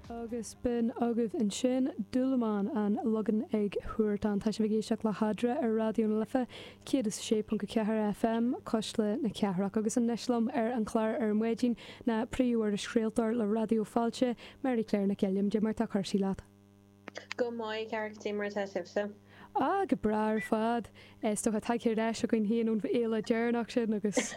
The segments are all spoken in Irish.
Agus b'in agaibh ansin, Dúlamán, an Logán ag Huartan. Tá sibh ag éisteacht le hEadra ar Raidió na Life 106.4 FM, Cuisle na Cathrach. Agus anois liom ar an chlár ar maidin ná príomh-irischraoltóir le Raidió Fáilte, Mary Claire Nic Uilliam. Cad é mar tá cúrsaí leat? Go maith, a chara, cad é mar atá sibhse? Ah, go breá ar fad. Is dócha tagtha ar ais againn féin ón bhféile deireanach sin agus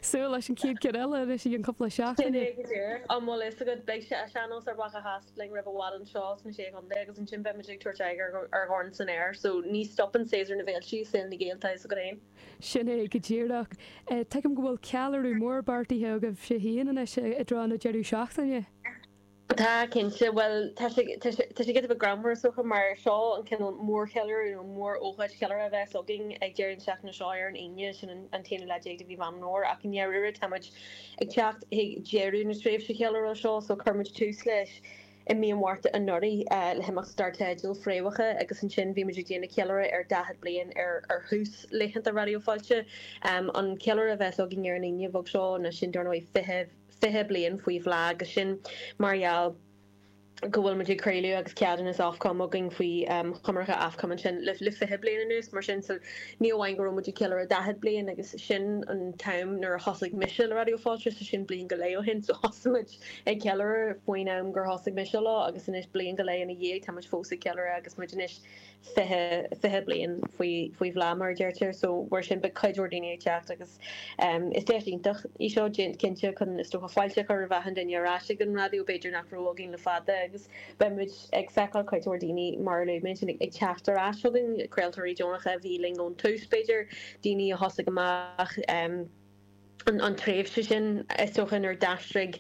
súil leis an chéad cheann eile anois i gcionn cúpla seachtaine. Sin é go díreach. An bhfuil fhios agat, beidh sé Sean-Nós ar Mhacha Theas linn roimh i bhfad anseo sna Sé Chontae agus ansin beidh muid ag tabhairt aghaidh ar Dhorn san Aer so ní stopann séasúr na bhféiltí i saol na nGael, tá fhios agat féin. Sin é go díreach. Tuigim go bhfuil ceiliúradh mór beartaithe agaibhse féin anois i dtreo na deireadh seachtaine. Tá, cinnte. Bhuel, tá sé, tá sé, tá sé giota beag greannmhar is dócha mar seo an cineál mórcheiliúradh nó mór-ócáid cheiliúrtha a bheas againn ag deireadh na seachtaine seo ar an Aoine, sin an an t-aonú lá déag de mhí Mheán Fómhair ach i ndáiríre tá muid ag teacht chuig deireadh na tréimhse cheiliúrtha seo so chuir muid tús leis i mí an Mhárta anuraidh le himeacht dar teideal Fréamhacha agus ansin bhí muid ag déanamh ceiliúradh ar 40 bliain ar ar thús laethanta Raidió Fáilte. An ceiliúradh a bheas againn ar an Aoine bheag seo ná sin dar ndóigh 20 20 bliain faoi bhláth agus sin mar gheall go bhfuil muid ag craoladh agus ceadúnas Ofcom againn faoi choimirce Ofcom ansin le 20 bliain anuas mar sin so ní amháin go raibh muid ag ceiliúradh 40 bliain agus sin an t-am nuair a thosaigh mise le Raidió Fáilte so sin bliain go leith ó shin so thosaigh muid ag ceiliúradh faoin am gur thosaigh mise leo agus anois bliain go leith ina dhiaidh tá muid fós ag ceiliúradh agus muid anois 20, 20 bliain faoi, faoi bhláth mar a deirtear so mar sin beidh cuid mhór daoine ag teacht agus is deis iontach í seo cinnte chun is dócha fáilte a chur roimh achan duine ar ais ag an raidió b'fhéidir nach raibh againn le fada agus beidh muid ag feiceáil cuid mhór daoine mar a luaigh mé ansin ag teacht ar ais chugainn, craoltóirí deonacha a bhí linn ón tús b'fhéidir, daoine a thosaigh amach. an tréimhse sin, is dócha, nuair a d'aistrigh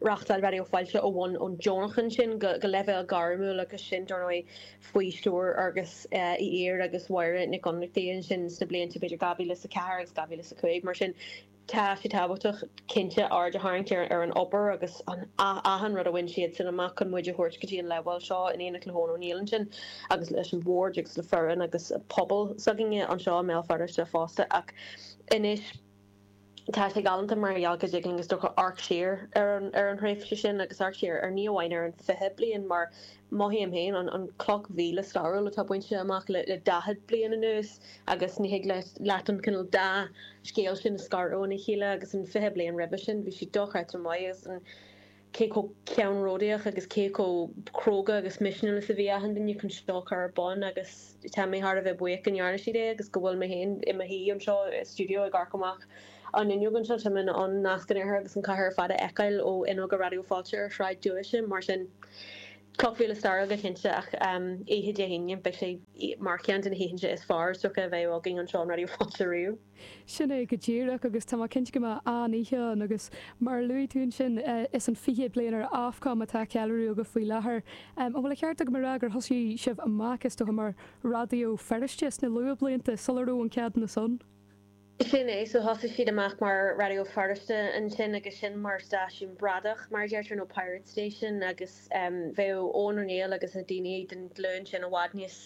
reáchtáil Raidió Fáilte ó bhonn ón deonach ansin go leibhéal gairmiúil agus sin, dar ndóigh, faoi stiúir Fhearghais Uí Ír agus Mháire Nic Fhionnachtaigh ansin sna blianta b'fhéidir 2004 agus 2005. Mar sin, tá sé tábhachtach, cinnte, aird a tharraingt ar an obair agus achan rud a bhain siadsan amach chun muid a thabhairt go dtí an leibhéal seo in éineacht le hEoin Ó Neill ansin agus leis an bhord agus le foireann agus pobal s'againne anseo i mBéal Feirste fosta. Ach anois, Tá sé galánta mar gheall go dtig linn is dócha amharc siar ar an ar an thréimhse sin agus amharc siar ar ní amháin ar an 20 bliain mar mothaím féin an an cloch mhíle stairiúil atá bainte amach le le 40 bliain anuas agus ní thig leat an cineál dá scéal sin a scaradh óna chéile agus an 20 bliain roimhe sin bhí sé dochreidte maith agus an cé chomh ceannródaíoch agus cé chomh cróga agus misniúil is a bhí achan duine chun seo a chur ar bun agus tá mé thar a bheith buíoch go ndearna siad é agus go bhfuil mé féin i mo shuí anseo i stiúideo ag amharc amach an fhuinneog anseo. Tá mé in ann Nasc an Iarthair agus an chathair ar fad a fheiceáil ó fhuinneoga Raidió Fáilte ar Shráid Dúiche. Mar sin, cloch mhíle stairiúil go cinnte ach oíche Dé hAoine, beidh sé mar cheann de na hoícheanta is fearr is dócha a bheidh againn anseo in Raidió Fáilte riamh. Sin é go díreach agus tá mé cinnte go mbeidh an-oíche ann agus mar a luaigh tú ansin is an 20 bliain ar Ofcom atá á cheiliúradh agaibh faoi láthair. An bhfuil an ceart agam a rá gur thosaigh sibh amach is dócha mar Raidió Feirste sna luathbhlianta sula raibh an ceadúnas ann? Sin é, so thosaigh siad amach mar Raidió Feirste ansin agus sin mar stáisiún bradach mar a deirtear nó pirate station agus bheadh Eoin Ó Néill agus na daoine den ghlúin sin i bhfad níos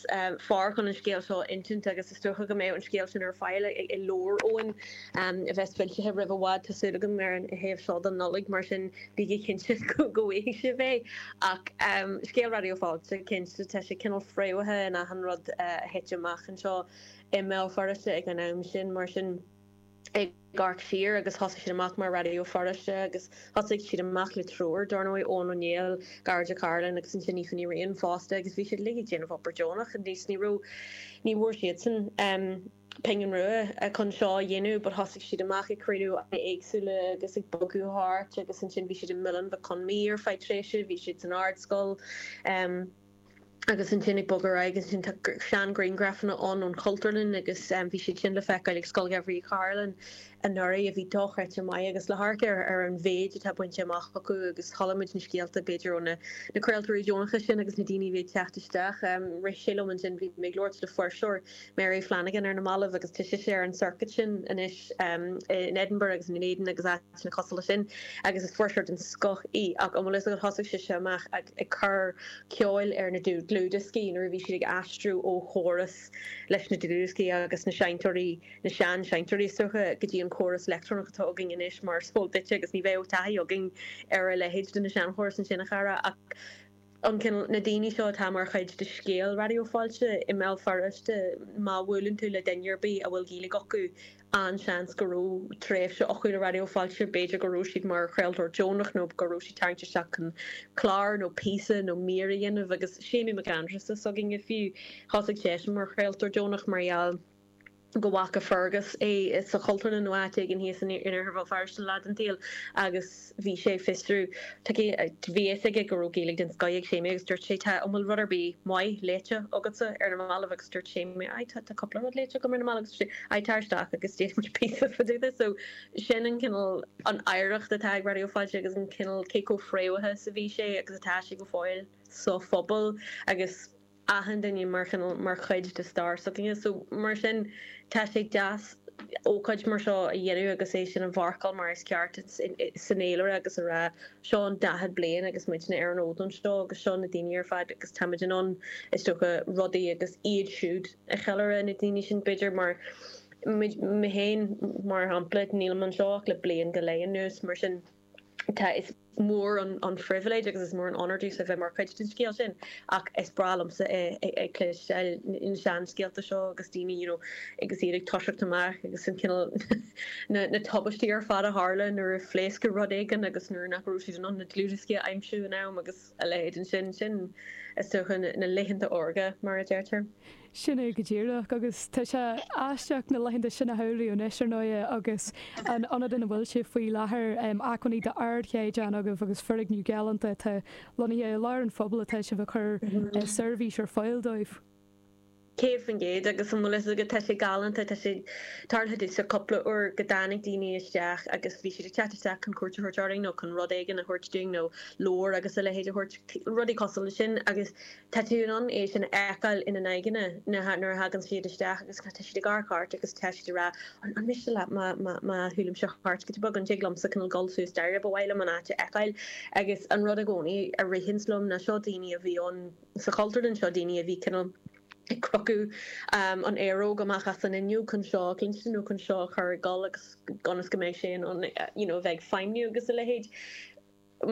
fearr chun an scéal seo a insint agus is dócha go mbeidh an scéal sin ar fáil i leabhar Eoin a bheas foilsithe roimh i bhfad, tá súil agam, ar an thaobh seo den Nollaig, mar sin bígí cinnte go bhfaighidh sibh é. Ach scéal Raidió Fáilte, cinnte, tá sé cineál fréamhaithe in achan rud a thit amach anseo i mBéal Feirste ag an am sin, mar sin. ag amharc siar agus thosaigh siad amach mar Raidió Feirste agus thosaigh siad amach le triúr, dar ndóigh, Eoin Ó Néill, Gearóid Ó Cairealláin agus ansin Aoife Ní Riain fosta agus bhí siad uilig ag déanamh obair deonach níos ní raibh, ní bhfuair siadsan pingin rua chun seo a dhéanamh but thosaigh siad amach ag craoladh éagsúla agus ag bogadh thart agus ansin bhí siad i Muileann Mhic Con Midhe ar feadh tréimhse, bhí siad san Ardscoil. Agus ansin ag bogadh ar aghaidh, ansin tá sean-ghrianghrafanna ann ón Chultúrlann agus bhí siad sin le feiceáil ag Scoil Gheimhridh Uí Chairealláin anuraidh a bhí dochreidte maith agus le hamharc ar ar an mhéid atá bainte amach acu agus chuala muid na scéalta b'fhéidir ó na na craoltóirí deonacha sin agus na daoine a bhí ag teacht isteach. Rith sé liom ansin, bhí mé ag labhairt le fuirseoir Mary Flanagan ar na mallaibh agus tá sise ar an circuit sin anois in Edinburgh agus in Dunedin agus áiteanna cosúil leis sin agus is fuirseoir den scoth í ach an bhfuil fhios agat thosaigh sise amach ag ag cur ceoil ar na dúdlanna. dlúthdhioscaí, nuair a bhí siad ag aistriú ó chóras leis na dlúthdhioscaí agus na seinnteoirí, na sean-seinnteoirí is dócha, go dtí an córas leictreonach atá againn anois mar is eol duitse agus ní bheadh taithí againn ar a leithéid de na seanchórais ansin a chara ach an cineál, na daoine seo atá mar chuid de scéal Raidió Fáilte i mBéal Feirste, má bhuaileann tú le duine ar bith a bhfuil Gaeilge acu, an-seans go raibh tréimhse acu le Raidió Fáilte, b'fhéidir go raibh siad mar chraoltóir deonach nó go raibh siad tarraingthe isteach chun clár nó píosa nó mír a dhéanamh agus Séimí Mac Aindreasa s'againne fiú, thosaigh seisean mar chraoltóir deonach mar gheall. go bhfaca Fergus é sa Chultúrlann nó áit éigin thíos in Iarthar Bhéal Feirste lá den tsaol agus bhí sé ag fiosrú, tá bhí a fhios aige go raibh Gaeilge den scoith ag Séimí agus dúirt sé tá, an bhfuil rud ar bith maith léite agatsa ar na mallaibh agus dúirt Séimí aye tá, tá cúpla rud léite agam ar na mallaibh agus dúirt sé aye tar isteach agus déanfaidh muid píosa fá dtaobh de. So sin an cineál, an oidhreacht atá ag Raidió Fáilte agus an cineál cé chomh fréamhaithe is a bhí sé agus atá sé go fóill sa phobal agus achan duine mar chineál, mar chuid de stair s'againne. So mar sin tá sé deas ócáid mar seo a dhéanamh agus é sin a mharcáil mar is ceart san fhéilire agus a rá seo an 40 bliain agus muidne ar an fhód anseo agus seo na daoine ar fad agus táimid in ann is dócha rudaí agus iad siúd a cheiliúradh, na daoine sin b'fhéidir mar mé féin mar shampla nílim anseo ach le bliain go leith anuas mar sin tá is mór an phribhléid agus is mór an onóir domhsa a bheith mar chuid den scéal sin ach is breá liomsa ag cloisteáil na seanscéalta seo agus daoine you know agus iad ag toiseacht amach agus an cineál na na tubaistí ar fad a tharla nuair a phléascadh rud éigin agus nuair nach raibh siad in ann na dlúthdhioscaí a aimsiú in am agus a leithéid ansin. Sin is dócha na laethanta órga mar a deirtear. Sin é go díreach, agus tá sé aisteach na laethanta sin a shamhlú anois, ar ndóighe, agus an ionad ina bhfuil sibh faoi láthair, acmhainní d'ardchaighdeán agaibh agus foirgneamh galánta atá lonnaithe i lár an phobail atá sibh ag cur seirbhís ar fáil dóibh. 100% agus an bhfuil fhios agat, tá sé galánta, tá sé tarlaithe domhsa cúpla uair go dtáinig daoine isteach agus bhí siad ag teacht isteach chun cuairt a thabhairt orainn nó chun rud éigin a thabhairt dúinn nó leabhar agus a leithéid a thabhairt, rudaí cosúil leis sin agus Tá tú in ann é sin a fheiceáil ina n-aghaidheanna nuair a thagann siad isteach agus tá siad ag amharc ort agus tá siad ag rá an miste leat má má shiúlaimse thart giota beag, an dtig liomsa cineál dul suas staighre, ba mhaith liom an áit a fheiceáil. Agus an rud i gcónaí a ritheanns liom ná seo daoine a bhí ann sa Chultúrlann, seo daoine a bhí cineál ag crochadh an aeróg amach as an fhuinneog chun seo a chluinstin nó chun seo a chur ag dul agus ionas go mbeidh sé in ann you know a bheith ag feidhmniú agus a leithéid.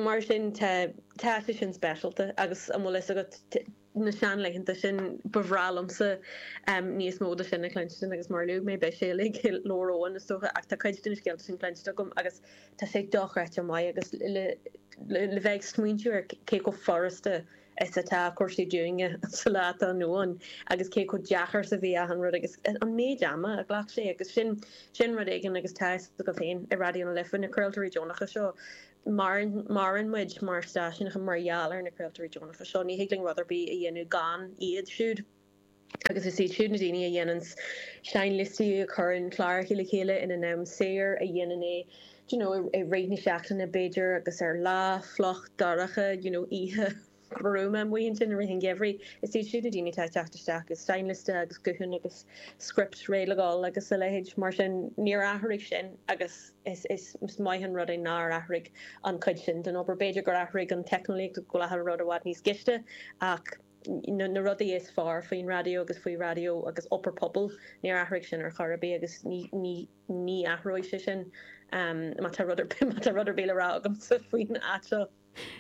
Mar sin tá, tá sé sin speisialta agus an bhfuil fhios agat, na seanlaethanta sin, ba bhreá liomsa níos mó de sin a chluinstin agus mar a luaigh mé, beidh sé uilig i leabhar Eoin is dócha ach tá cuid de na scéalta sin cluinste agam agus tá sé dochreidte maith agus le le bheith ag smaointiú ar cé chomh furasta is atá cúrsaí dúinne sa lá atá inniu ann agus cé chomh deacair is a bhí achan rud agus an méid ama a ghlac sé agus sin sin rud éigin agus tá fhios agaibh féin i Raidió na Life na craoltóirí deonacha seo Maireann, maireann muid mar stáisiún mar gheall ar na craoltóirí deonacha seo. Ní thig linn rud ar bith a dhéanamh gan iad siúd. Agus is iad siúd na daoine a dhéanann seinnliostaí, a chuireann cláracha le chéile ina n-am saor, a dhéanann é, do you know, i rith na seachtaine b'fhéidir agus ar lá fliuch dorcha, you know, oíche. ghruama amuigh ansin i rith an gheimhridh. Is iad siúd na daoine atá ag teacht isteach agus seinnliosta agus guthán agus script réidh le dhul agus a leithéid. Mar sin, níor athraigh sin agus is is maith an rud é nár athraigh an chuid sin den obair. B'fhéidir gur athraigh an teicneolaíocht go bhfuil achan rud i bhfad níos gaiste ach na rudaí is fearr faoin raidió agus faoi raidió agus obair pobail, níor athraigh sin ar chor ar bith agus ní ní ní athróidh sé sin má tá rud ar bith má tá rud ar bith le rá agamsa faoin áit seo.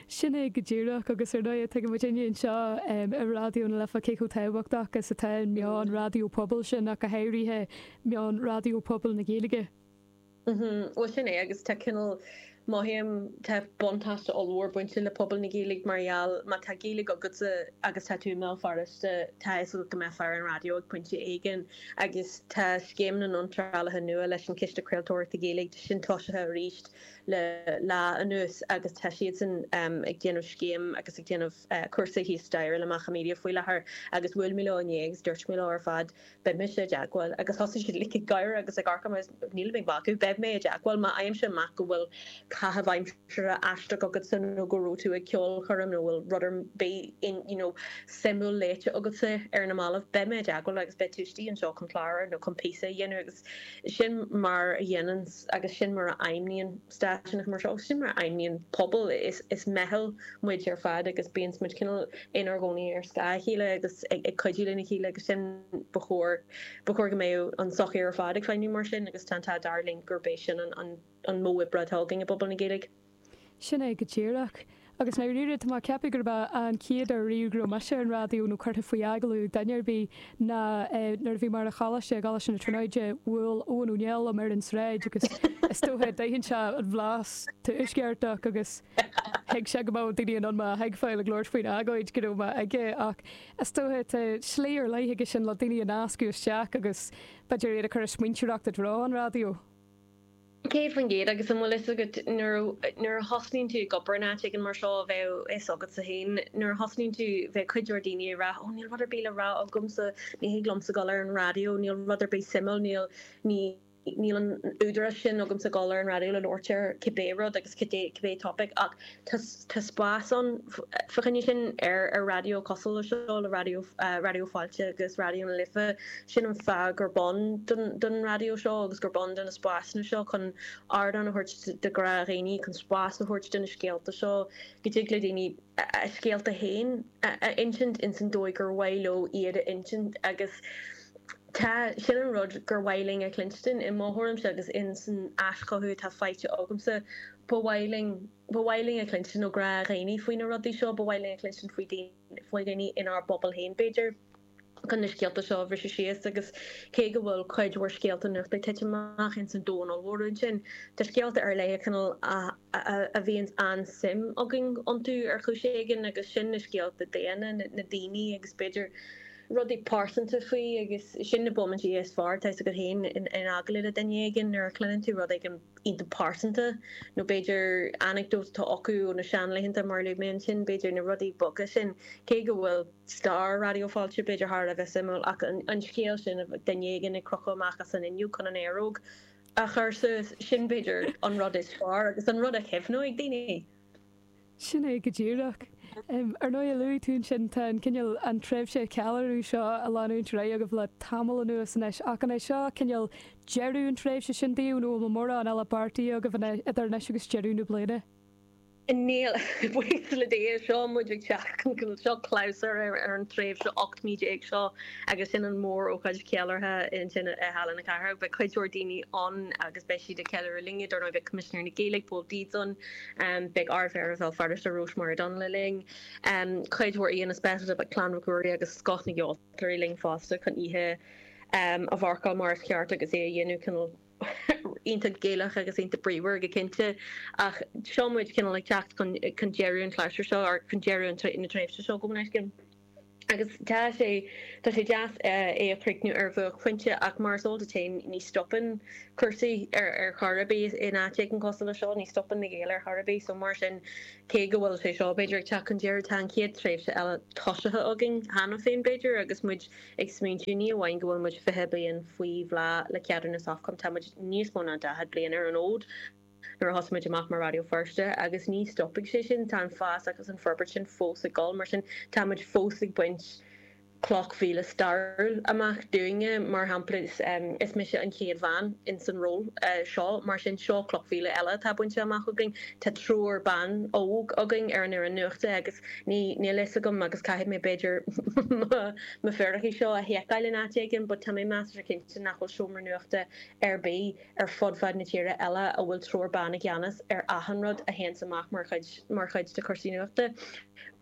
Sin é go díreach, agus ar ndóigh tuigeann muidinne anseo i Raidió na Life cé chomh tábhachtach is atá an meán raidió pobail sin, ach go háirithe meán raidió pobail na Gaeilge. Bhuel sin é, agus tá cineál, mothaím, tá buntáiste ollmhór bainte le pobal na Gaeilge mar gheall, má tá Gaeilge agatsa agus tá tú i mBéal Feirste, tá a fhios agat go mbeifeá ar an raidió ag pointe éigin agus tá scéim na n-iontrálaithe nua leis an Chiste Craoltóireachta Gaeilge, tá sin tosaithe arís. le lá anuas agus tá siadsan ag déanamh scéim agus ag déanamh cúrsa thíos staighre le Macha Media faoi láthair agus bhuail mé leo inné agus dúirt mé leo ar fad beidh mise i dteagmháil agus thosaigh siad like ag gáire agus ag amharc orm agus nílim ag magadh beidh mé i dteagmháil má fhaighimse amach go bhfuil caitheamh aimsire aisteach agatsa nó go raibh tú ag ceolchoirm nó bhfuil rud ar bith in you know suimiúil léite agatsa ar na mallaibh, beidh mé i dteagmháil agus beidh tú istigh anseo chun clár nó chun píosa a dhéanamh agus sin mar a dhéanann agus sin mar a fheidhmníonn stáisiúnacha mar seo agus sin mar a fheidhmníonn pobal. Is is meitheal muid ar fad agus bíonn muid cineál inár gcónaí ar scáth a chéile agus ag ag cuidiú lena chéile agus sin ba chóir ba chóir go mbeadh an tsochaí ar fad ag feidhmiú mar sin agus tá an t-ádh dearg linn gurb é sin an an an modh oibre atá againn i bpobal na Gaeilge. Sin é go díreach. Agus i ndáiríre, tá mé ag ceapadh gurb é an chéad uair riamh go raibh mise ar an raidió nó curtha faoi agallamh ag duine ar bith ná nuair a bhí mé ar an choláiste, i gColáiste na Tríonóide, bhuail Eoin Ó Néill liom ar an tsráid agus is dócha d'aithin sé an bhlas tuaisceartach agus thuig sé go mbeadh daoine in ann mé a thuigbheáil ag labhairt faoin agóid go raibh mé aige ach is dócha tá slí ar leith aige sin le daoine a nascadh isteach agus b'fhéidir iad a chur ag smaointeoireacht i dtreo an raidió. 100% agus an bhfuil fhios agat nuair nuair a thosnaíonn tú ag obair in áit éigin mar seo bheadh fhios agatsa féin nuair a thosnaíonn tú bheadh cuid mhór daoine ag rá oh níl rud ar bith le rá agamsa ní thig liomsa dul ar an raidió níl rud ar bith suimiúil níl ní níl an údarás sin agamsa dul ar an raidió le labhairt ar cibé rud agus cibé cibé topic ach tá tá spás ann fá choinne sin ar ar raidió cosúil le seo le raidió Raidió Fáilte agus Raidió na Life. Sin an fáth gurb ann don raidió seo agus gurb ann do na spásanna seo, chun ardán a thabhairt do ghnáthdhaoine, chun spás a thabhairt do na scéalta seo, go dtig le daoine a scéalta féin a insint ins an dóigh gur mhaith leo iad a insint agus tá, sin an rud gur mhaith linn a chluinstin, i mo thuairimse agus ins an aischothú atá faighte agamsa, ba mhaith linn, ba mhaith linn a chluinstin ó ghnáthdhaoine faoi na rudaí seo, ba mhaith linn a chluinstin faoi daoine. faoi dhaoine inár bpobal féin, b'fhéidir, chun na scéalta seo a bhriseadh síos agus cé go bhfuil cuid mhór scéalta nuachta ag titim amach ins an domhan ollmhór ansin, tá scéalta ar leith cineál a bhíonns an-suim againn iontu ar chúis éigin agus sin na scéalta daonna, na daoine agus b'fhéidir rudaí pearsanta faoi agus sin na bomaintí is fearr, tá 'fhios agat féin, in agallamh le duine éigin nuair a chluineann tú rud éigin iontach pearsanta, nó b'fhéidir anecdote atá acu ó na seanlaethanta, mar a luaigh mé ansin, b'fhéidir na rudaí beaga sin, cé go bhfuil stair Raidió Fáilte b'fhéidir thar a bheith suimiúil, ach an scéal sin duine éigin ag crochadh amach as an fhuinneog chun an aeróg a chur suas, sin b'fhéidir an rud is fearr agus an rud a chuimhneoidh daoine. Sin é go díreach. Ar ndóigh, luaigh tú ansin, tá an cineál, an tréimhse ceiliúradh seo ag leanúint ar aghaidh agaibh le tamall anuas anois, ach an é seo cineál deireadh an tréimhse sin daoibh nó an bhfuil mórán eile beartaithe agaibh idir anois agus deireadh na bliana? Níl, buíochas le Dia, seo muid ag teacht chun, seo clabhsúr ar an tréimhse 18 mí seo agus sin an mór-ócáid cheiliúrtha ansin i Halla na Cathrach. Beidh cuid mhór daoine ann agus beidh siad ag ceiliúradh linne, dar ndóigh beidh Coimisinéir na Gaeilge, Pól Deeds ann, Beidh Ard-Mhéara Bhéal Feirste, Rosemary O'Donnell linn. Cuid mhór aíonna speisialta, beidh Clann Mhic Ruairí agus scoth na gceoltóirí linn fosta chun oíche a mharcáil mar is ceart agus é a dhéanamh cineál iontach Gaelach agus iontach bríomhar go cinnte. Ach seo muid cineál ag teacht chun deireadh an chlabhsúir seo, or chun deireadh na tréimhse seo, gabh mo leithscéal. Agus tá sé, tá sé deas é a chríochnú ar bhuaicphointe ach mar is eol duit féin ní stopann cúrsaí ar ar chor ar bith in áit éigin cosúil le seo, ní stopann na Gaeil ar chor ar bith so mar sin cé go bhfuil sé seo b'fhéidir ag teacht chun deiridh tá an chéad tréimhse eile tosaithe againn cheana féin b'fhéidir agus muid ag smaointiú ní amháin go bhfuil muid 20 bliain faoi bhláth le ceadúnas Ofcom tá muid níos mó ná 40 bliain ar an fhód. nuair a thosaigh muid amach mar Raidió Feirste agus ní stopfaidh sé sin, tá an fás agus an forbairt sin fós ag dul, mar sin tá muid fós ag baint cloch mhíle stairiúil amach dúinne, mar shampla is mise an chéad bhean ins an ról seo, mar sin seo cloch mhíle eile atá bainte amach againn, tá triúr ban óg againn ar an fhoireann nuachta agus ní níl fhios agam agus caithfidh mé b'fhéidir mo fíricí seo a sheiceáil in áit éigin but tá mé measartha cinnte nach bhfuil seomra nuachta ar bith ar fud fad na tíre eile a bhfuil triúr ban i gceannas ar achan rud a théanns amach mar chuid mar chuid de chúrsaí nuachta.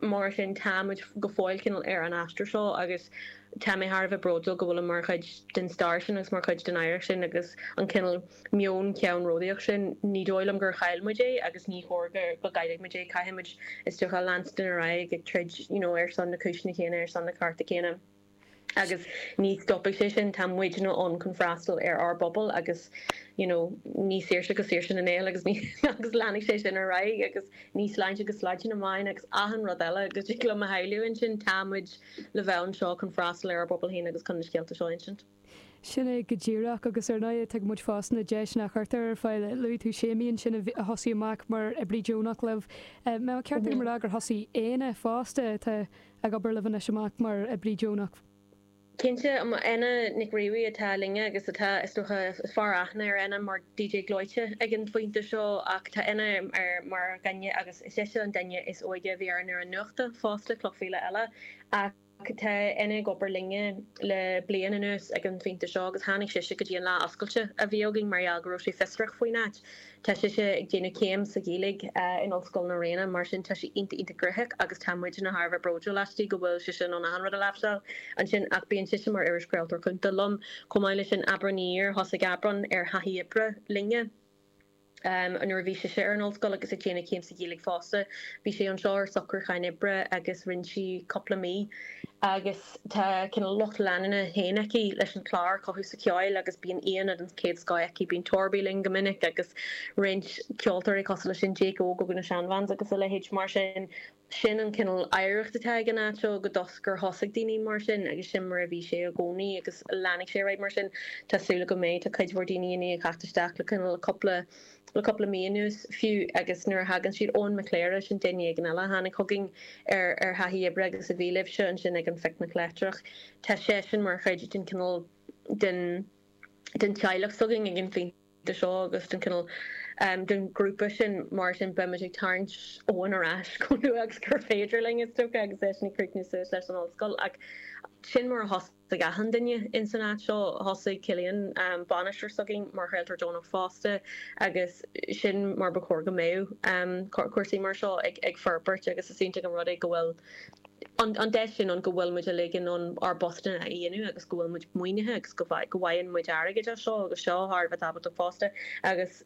Mar sin tá muid go fóill cineál ar an aistear seo agus tá mé thar a bheith bródúil go bhfuilim mar chuid den stair sin agus mar chuid den oidhreacht sin agus an cineál meon ceannródaíoch sin, ní dóigh liom gur chaill muid é agus ní chóir go go gcaillfidh muid é. Caithfidh muid is dócha leanstan ar aghaidh ag troid you know ar son na cúiseanna céanna, ar son na cearta céanna. Agus ní stopfaidh sé sin, tá muidne ann chun freastal ar ár bpobal agus you know ní saoirse go saoirse na nGael agus ní agus leanfaidh sé sin ar aghaidh agus ní sláinte go sláinte na mban agus achan rud eile go dtig liom a shamhlú ansin, tá muid le bheith anseo chun freastal ar ár bpobal féin agus chun na scéalta seo a insint. Sin é go díreach, agus ar ndóigh tuigeann muid fosta na deiseanna a chuirtear ar fáil. Luaigh tú Séimí ansin a thosaigh amach mar oibrí deonach libh. An mbeadh ceart agam a rá gur thosaigh Éanna fosta, atá ag obair libh anois, amach mar oibrí deonach? Cinnte, Éanna Nic Riabhaigh atá linne agus atá, is dócha, is fearr aithne ar Éanna mar DJ Gleoite ag an phointe seo ach tá Éanna mar dhuine agus is ise an duine is óige a bhí ar an fhoireann nuachta fosta, cloch mhíle eile. Ach tá Éanna ag obair linne le bliain anuas ag an phointe seo agus tháinig sise go dtí an lá oscailte a bhí againn mar gheall go raibh sí fiosrach faoin áit. Tá sise ag déanamh céim sa Ghaeilge in Ollscoil na Ríona mar sin tá sí iontach iontach gnoitheach agus tá muidne thar a bheith bródúil aisti go bhfuil sise in ann achan rud a láimhseáil ansin ach bíonn sise mar irischraoltóir cúnta liom. Chomh maith leis sin Aibreán Ní Ír, thosaigh Aibreán ar thaithí oibre linne. Nuair a bhí sise ar an ollscoil agus ag déanamh céim sa Ghaeilge fosta, bhí sí anseo ar socrúchán oibre agus rinne sí cúpla mí agus tá cineál lucht leanúna féin aici leis an chlár Cothú sa Cheol agus bíonn aíonna den chéad scoth aici, bíonn Torby linn go minic agus roinnt ceoltóirí cosúil leis sin, Jake Óg ó na Shan Vans agus a leithéid mar sin. Sin an cineál oidhreacht atá ag an áit seo go dtos gur thosaigh daoine mar sin agus sin mar a bhí sé i gcónaí agus leanfaidh sé ar aghaidh mar sin. Tá súil agam go mbeidh. Tá cuid mhór daoine i ndiaidh theacht isteach le cineál cúpla le cúpla mí anuas fiú agus nuair a thagann siad, Eoin Mac Cléire, sin duine éigin eile a tháinig chugainn ar ar thaithí oibre agus a bhí libhse ansin ag an phicnic leictreach. Tá seisean mar chuid den cineál den den teaghlach s'againn ag an phointe. seo agus den cineál den ghrúpa sin mar sin beimid ag tarraingt Eoin ar ais chomh luath agus gur féidir linn is dócha agus eisean ag críochnú suas leis an ollscoil ach sin mar a thosaigh achan duine ins an áit seo. Thosaigh Cillian, bainisteoir s'againn, mar chraoltóir deonach fosta agus sin mar ba chóir go mbeadh cúrsaí mar seo ag forbairt agus is iontach an rud é go bhfuil an deis sin ann go bhfuil muid uilig in ann ár bpostanna a dhéanamh agus go bhfuil muid maoinithe agus go bhfaigheann muid airgead as seo agus seo thar a bheith tábhachtach fosta agus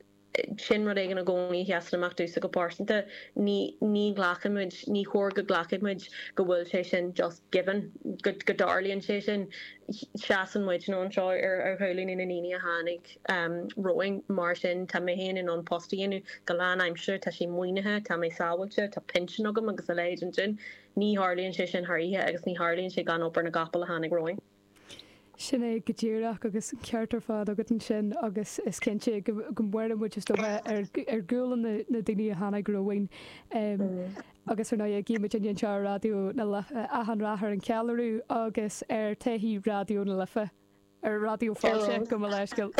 sin rud éigin i gcónaí a sheasann amach domhsa go pearsanta, ní ní ghlacann muid, ní chóir go nglacfadh muid go bhfuil sé sin just given, go go dtarlaíonn sé sin. Seasann muidne anseo ar ar ghuaillí na ndaoine a tháinig romhainn mar sin tá mé féin in ann post a dhéanamh go lánaimseartha, tá sé maoinithe, tá mé sábháilte, tá pinsean agam agus a leithéid ansin. Ní tharlaíonn sé sin thar oíche agus ní tharlaíonn sé gan obair na gcapall a tháinig romhainn. Sin é go díreach agus an ceart ar fad agat ansin agus is cinnte go maireann muid is dócha ar ar ghualainn na daoine a tháinig romhainn agus ar ndóigh guíonn muid anseo ar Raidió na Life achan rath ar an cheiliúradh agus ar todhchaí Raidió na Life. Ar Raidió Fáilte, gabh mo leithscéal.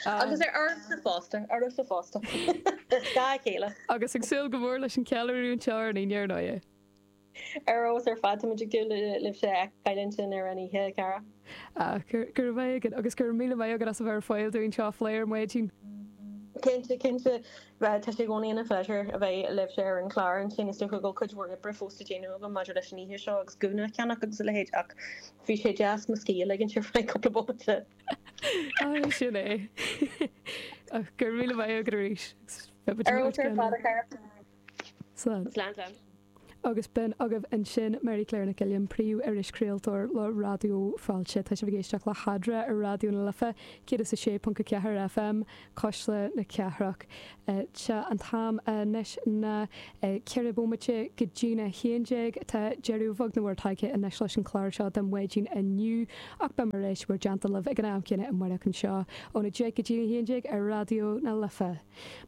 Agus ar oraibhse fosta, oraibhse fosta. Is gá a chéile. Agus ag súil go mór leis an cheiliúradh anseo ar an Aoine ar ndóigh. Ar fheabhas ar fad, táimid ag dúil libhse a fheiceáil ansin ar an oíche, a chara. Ah, go raibh maith agat agus go raibh míle maith agat as a bheith ar fáil dúinn seo a phlé ar maidin. Cinnte, cinnte. Tá sé i gcónaí ina phléisiúr a bheith libhse ar an chlár ansin. Is dócha go bhfuil cuid mhór oibre fós le déanamh agam maidir leis an oíche seo agus gúna a cheannach agus a leithéid ach bhí sé deas mo scíth a ligint ar feadh cúpla bomaite. Ah, sin é. Ach go raibh míle maith agat arís. Ar fheabhas ar fad a chara. Slán. Slán, slán. Agus b'in agaibh ansin Mary Claire Nic Uilliam, Príomh-Irischraoltóir le Raidió Fáilte. Tá sibh ag éisteacht le hEadra ar Raidió na Life, 106.4 FM, Cuisle na Cathrach. Tá an t-am anois ná 4 bomaite go dtína 11. Tá deireadh bheag nó mór tagtha anois leis an chlár seo don mhaidin inniu ach beidh mé ar ais bhur dteannta libh ag an am céanna amárach anseo óna 10 go dtína 11 ar Raidió na Life.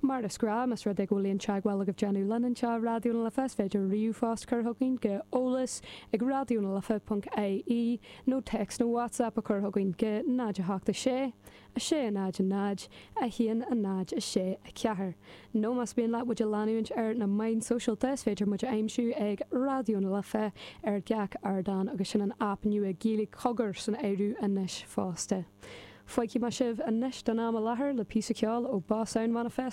Mar is gnáth, más rud é go bhfuil aon teagmháil agaibh déanamh linn anseo i Raidió na Life, is féidir ríomhphost cur chugainn go eolas ag raidionalife.ie nó téacs nó WhatsApp a chur chugainn go 0 8 6 6 0 0 1 0 6 4. Nó más mian leat muid a leanúint ar na meáin sóisialta, is féidir muid a aimsiú ag Raidió na Life ar gach ardán agus sin an aip nua Gaeilge Cogar san áireamh anois fosta. Fágfaidh mé sibh anois don am i láthair le píosa ceoil ó Boss Sound Manifesto.